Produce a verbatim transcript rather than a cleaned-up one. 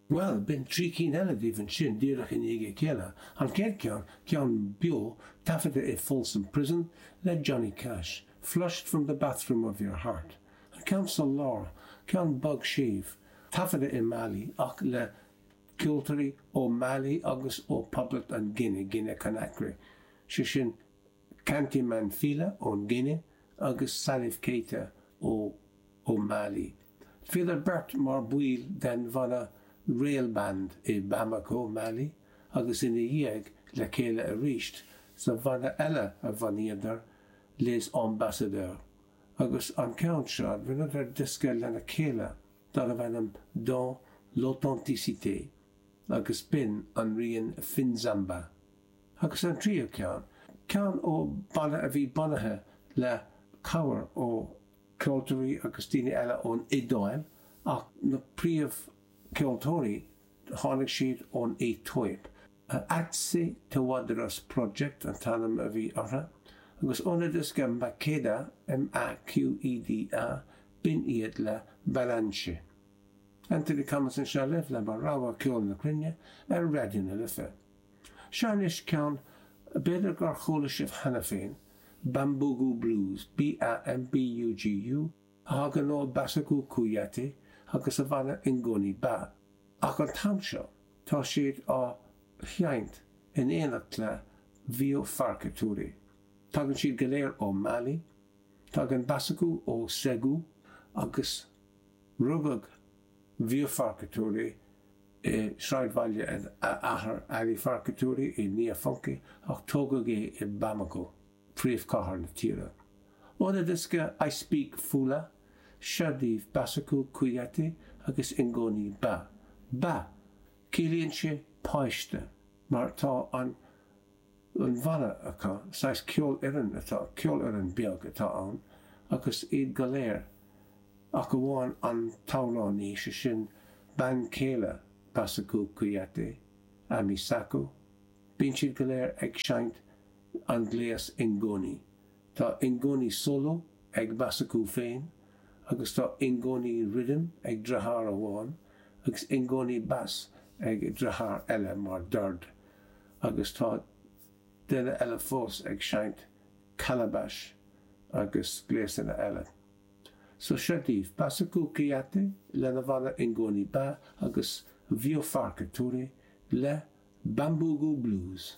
Bhuel, b'in trí cinn eile daoibh ansin díreach i ndiaidh a chéile. An chéad cheann, ceann beo, taifeadta i Folsom Prison le Johnny Cash, Flushed from the Bathroom of Your Heart. An ceann sa lár, ceann bog séimh, taifeadta i Mali ach le ceoltóirí ó Mali agus ó Poblacht an Ghuine, Guinea Conakry, sé sin Kanté Manfila ón Ghuine agus Salif Keita ó ó Mali. Bhíodar beirt mar bhaill den bhanna Rail Band i Bamako, Mali, agus ina dhiaidh le chéile arís sa bhanna eile a bhunaíodar, Les Ambassadeurs. Agus an ceann seo, rinneadar diosca lena chéile darbh ainm Dans l'authenticité agus b'in an rian Finzamba. Agus an tríú ceann, ceann ó bhanna a bhí bunaithe le cabhair ó cheoltóirí agus daoine eile ón Iodáil ach na príomhcheoltóirí, tháinig siad ón Aetóip. Atse Tawadros Project an t-ainm a bhí orthu, agus óna diosca Maqeda, M A Q E D A, b'in iad le Balanche. Anthony Cummins anseo libh le mo rogha ceol na cruinne ar Raidió na Life. Seo anois ceann b'fhéidir gur chuala sibh cheana féin, Bambugu Blues, B A M B U G U, a thagann ó Bassekou Kouyaté agus a bhanna Ngoni Ba. Ach an t-am seo, tá siad á sheinnt in éineacht le Vieux Farka Touré. Tagann siad go léir ó Mali, tagann Bassekou ó Ségou agus rugadh Vieux Farka Touré i sráidbhaile a athar Ali Farka Touré i Niafunké ach tógadh é i Bamako, príomhchathair na tíre. Óna diosca I Speak Fula, seo daoibh Bassekou Kouyaté agus Ngoni Ba. Ba, ciallaíonn sé páiste, mar tá an an bhanna acu, saghas ceolfhoireann atá, ceolfhoireann beag atá ann, agus iad go léir, ach amháin an t-amhránaí, sé sin bean chéile Bassekou Kouyaté, Ami Sako, bíonn siad go léir ag seinnt an gléas ngoni. Tá ngoni solo ag Bassekou féin, agus tá ngoni rhythm ag deartháir amháin, agus ngoni bass ag deartháir eile mar dord, agus tá duine eile fós ag seinnt calabash agus gléasanna eile. So seo daoibh Bassekou Kouyaté lena bhanna Ngoni Ba agus Vieux Farka Touré le Bambugu Blues.